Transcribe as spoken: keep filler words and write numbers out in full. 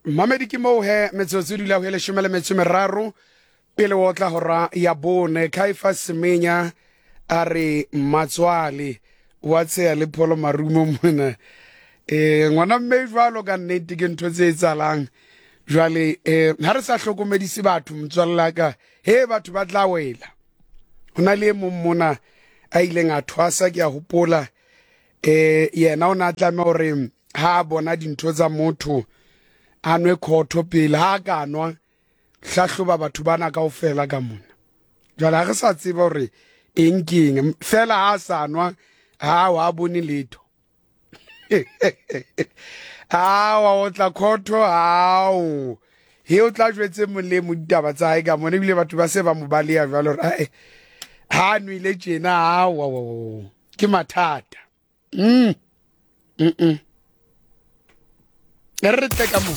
Mamedi ke moo he metsotso e dula ho e leshome le metso e meraro pele o tla hora ya bone. Kaifa Semenya a re matswale wa tsheya le pholo marumo mona. Eh ngwana mme jwalo ka nnete ke ntho tse etsahalang. Jwale eh ha re sa hlokomedise batho motswalla ka, he batho ba tla wela. Ho na le e mong mona a ileng a thwasa, ke a hopola, eh yena o na tlameha hore ha a bona dintho tsa motho a nwe khotho pele, ha ka nwa hlahloba batho bana kaofela ka mona. Jwale ha re sa tseba hore eng ke eng, fela ha sa nwa ha wa bone letho. Awa o tla khotho, ao he o tla jwetse molemo ditaba tsa hae ka mona, ebile batho ba se ba mo baleha jwale hore ae ha nwele tjena, awa ke mathata. Mm mm mm re tle ka mona.